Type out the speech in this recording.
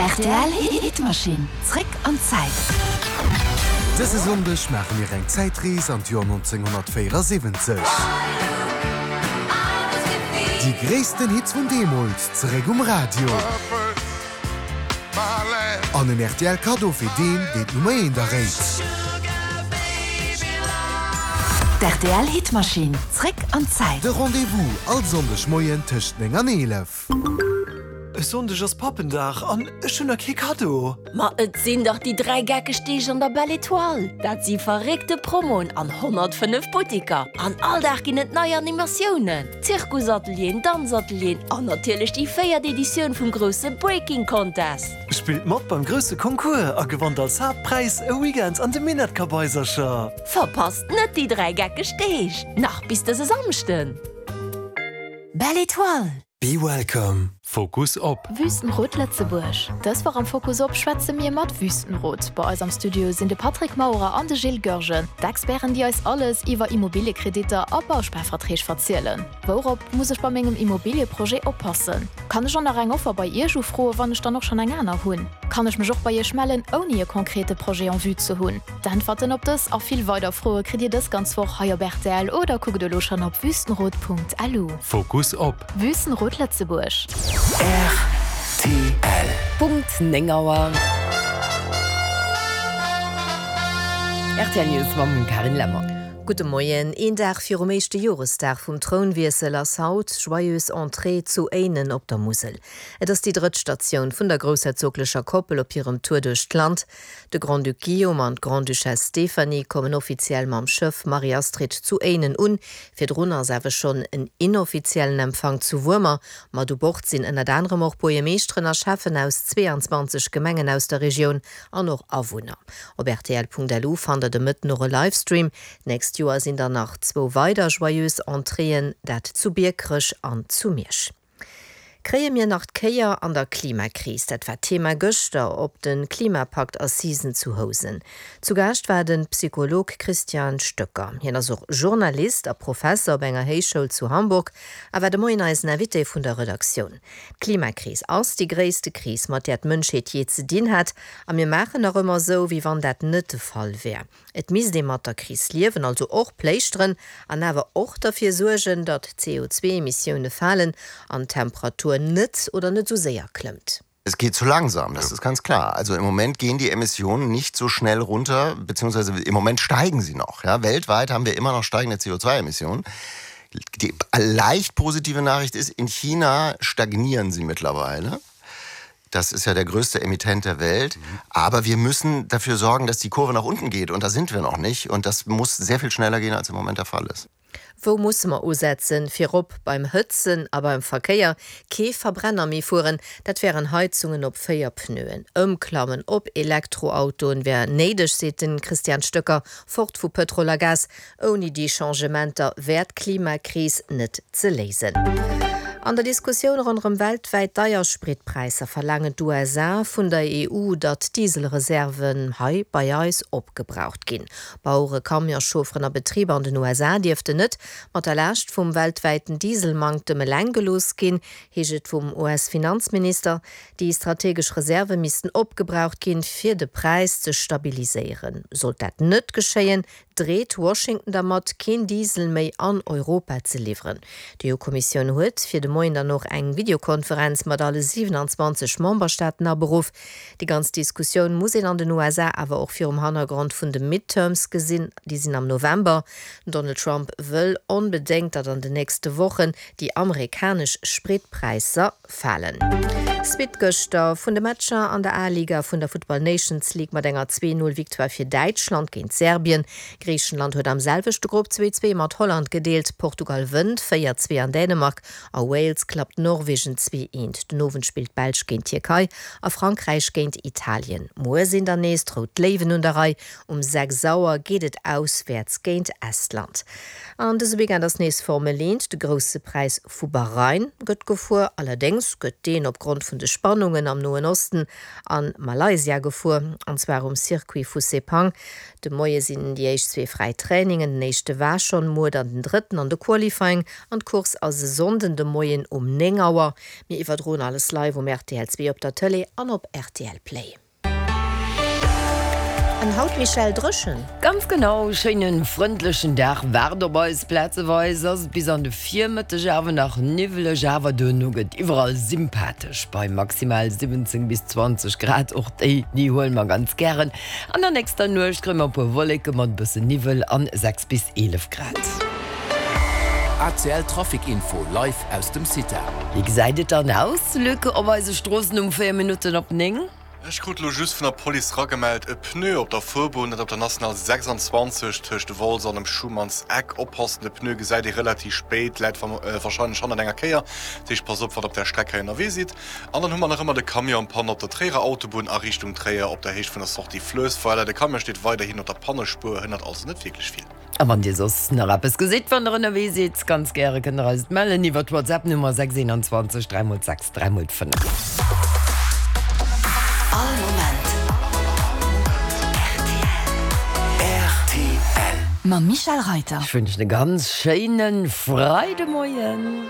Rtl Hitmaschinn, zréck an d'Zäit. Dëse Sonndeg maache mir eng Zäitrees an d'Joer 1974. Déi gréissten Hits vun deemools zeréck um Radio. An en rtl Kaddo fir deen, deen d'Nummer eent erréit. D'RTL Hitmaschinn, zréck an d'Zäit. De Rendez-vous all Sonndeg Moien tëscht 9 an 11. E Sonndeg ass Pappendag an ech hunn nach kee Kaddo. Ma et sinn dach déi 3 geckeg Deeg an der Belle Etoile! Dat si verréckte Promoen an 105 Buttiker. An all Dag ginn et nei Animatiounen, Zirkusatelieren, Danzatelieren an natierlech déi véiert Editioun vum grousse Breaking Contest. Spillt mat beim grousse Concours a gewannt als Haaptpräis e Weekend an de Minettkabaisercher! Verpasst net déi 3 geckeg Deeg, nach bis dëse Samschden! Belle Etoile! Be welcome. Fokus op. Wüstenrot Lëtzebuerg. Dës Woch am Fokus op schwätze mir mat Wüstenrot. Bei eis am Studio sinn de Patrick Maurer an de Gilles Goergen, d'Experten déi eis alles iwwer Immobiliekreditter a Bausparverträg verzielen. Wourop muss ech bei mengem Immobilieprojet oppassen? Kann ech och nach eng Offer bei Iech ufroen, wann ech dann och schonn eng aner hunn? Kann ech mech och bei Iech mellen ouni e konkrete Projet en vue ze hunn? D'Äntwerten op dës a vill weider Froe kritt Dir dës ganz Woch hei op rtl oder kuckt elo schonn op wüstenrot.lu. Fokus op. Wüstenrot Lëtzebuerg. Rtl. Punkt 9 Auer. Rtl News mam Carine Lemmer. Gudde Moien. Een Dag virum éischte Joresdag vum Trounwiessel ass haut Joyeuse Entrée zu Éinen op der Musel. Et ass déi drëtt Statioun vun der groussherzoglecher Koppel op hirem Tour duerch d'Land. De Grand-Duc Guillaume an d'Grande-Duchesse Stéphanie kommen offiziell mam Schëff Marie-Astrid zu Éinen un. Virdrun ass awer schonn en inoffiziellen Empfang zu Wuermer. Mat u Bord sinn ënnert anerem och Buergermeeschteren a Schäffen aus 22 Gemengen aus der Regioun an och Awunner. Op rtl.lu fannt der de Mëtten och e Livestream. D'nächst Joer sinn dann nach zwou weider Joyeuse Entréeën, dat zu Biekerech an zu Miersch. Kréie mir nach d'Kéier an der Klimakris? Dat war d'Thema gëschter op de Klimapakt-Assisen zu Housen. Zu Gaascht war de Psycholog Christian Stöcker. Hien ass och Journalist a Professer op enger Héichschoul zu Hamburg a war de Moien eisen Invité vun der Redaktioun. D'Klimakris ass déi gréisste Kris, mat där d'Mënschheet jee ze dinn hat. A mir maachen nach ëmmer esou, wéi wann dat net de Fall wär. Et misst ee mat der Kris liewen, also och pléischteren, an awer och derfir suergen, datt d'CO2-Emissioune falen an d'Temperatur net oder net esou séier klëmmt. Es geht zu langsam, das ist ganz klar. Also im Moment gehen die Emissionen nicht so schnell runter, beziehungsweise im Moment steigen sie noch. Ja, weltweit haben wir immer noch steigende CO2-Emissionen. Die leicht positive Nachricht ist, in China stagnieren sie mittlerweile. Das ist ja der größte Emittent der Welt. Aber wir müssen dafür sorgen, dass die Kurve nach unten geht. Und da sind wir noch nicht. Und das muss sehr viel schneller gehen, als im Moment der Fall ist. Wou musse mer usetzen? Virop beim Hëtzen a beim Verkéier. Kee Verbrenner méi fueren, dat wären Heizungen op 4 Pneuen. Ëmklammen op Elektroautoen wär néideg, seet de Christian Stöcker. Fort vu Pëtrol a Gas. Ouni déi Changementer wär d'Klimakris net ze léisen. An der Diskussioun ronderëm weltwäit deier Spritpräisser verlaangen d'USA vun der EU, datt d'Dieselreserven hei bei eis opgebraucht ginn. Bauere, Camionschaufferen a Betriber an den USA dierften net mat der Laascht vum weltwäiten Dieselmanktem eleng gelooss ginn, heescht et vum US-Finanzminister. Déi strategesch Reserve missten opgebraucht ginn, fir de Präis ze stabiliséieren. Sollt dat net geschéien, dreet Washington dermat, keen Diesel méi an Europa ze liwweren. D'EU-Kommissioun huet fir de Moien dann och eng Videokonferenz mat alle 27 Memberstaaten aberuff. Déi ganz Diskussioun muss een an den USA awer och virum Hannergrond vun de Midterms gesinn, déi sinn am November. Den Donald Trump wëll onbedéngt, datt an den nächste Wochen déi amerikanesch Spritpräisser Falen. Suite gëschter vun de Matcher an der A-Liga vun der Futtball Nations League mat enger 2, 0 Victoire fir Däitschland géint Serbien. Griichenland huet am selwechte Grupp 2, 2 mat Holland gedeelt. Portugal wënnt 4, 2 an Dänemark a Wales klappt Norwegen 2, 1. Den Owend spillt d'Belsch géint d'Tierkei a Frankräich géint Italien. Muer sinn dann nees d'Rout Léiwen un der Rei. Um 6 Auer geet et auswäerts géint Estland. An dëse Weekend ass nees Formel 1, de Grousse Präis vu Bahrain gëtt gefuer, allerdéngs gëtt deen opgrond vun. vun de Spannungen am Noen Osten a Malaysia gefuer, an zwar um Circuit vu Sepang. De Moie sinn déi éischt zwee fräi Trainingen, den éischte war schonn muer, dann den drëtten an de Qualifying an d'Course ass e Sonnden de Moien um 9 Auer. Mir iwwerdroen alles live um rtl 2 op der Tëlee an op rtl Play. An haut, Michèle, dréchen? Ganz genau, schéinen frëndlechen Dag waart op eis. Plazeweis ass et bis an de Virmëtteg awer nach niwweleg, awer duerno gëtt iwwerall sympathesch bei maximal 17 bis 20 Grad. Och déi, déi huele mer ganz gären. An der nächster Nuecht kréie mer e puer Wolleke mat e bëssen Niwwel an 6 bis 11 Grad. ACL Trafic Info live aus dem CITA. Wéi gesäit et dann aus, Luc, op eise Stroossen um 4 Minutten op 9? Ech krut lo just vun der Police ragemellt, e Pneu op der Fuerbunn, dat op der National 26 tëscht Wolz an dem Schumann's Eck. Oppassen, de Pneu gesäit ee relativ spéit, läit warscheinlech hannert enger Kéier. Dat heescht, passt op, wann der op där Streck hei ënnerwee sidd. An dann hu mer nach ëmmer de Camion en panne op der Tréierer Autobunn a Richtung Tréier op der Héicht vun der Sortie Fluessweiler. De Camion steet weiderhin op der Pannespuer, hënnert also net wierklech vill. A wann Dir soss nach eppes gesitt, wann der ënnerwee sidd, ganz gäre kënnt der eis et mellen iwwer d'Whatsapp Nummer 6 21 3 x 6 3 x 5. All Moment rtl. Mam Michèle Reiter. Ech wënschen e ganz schéine Freidemoien.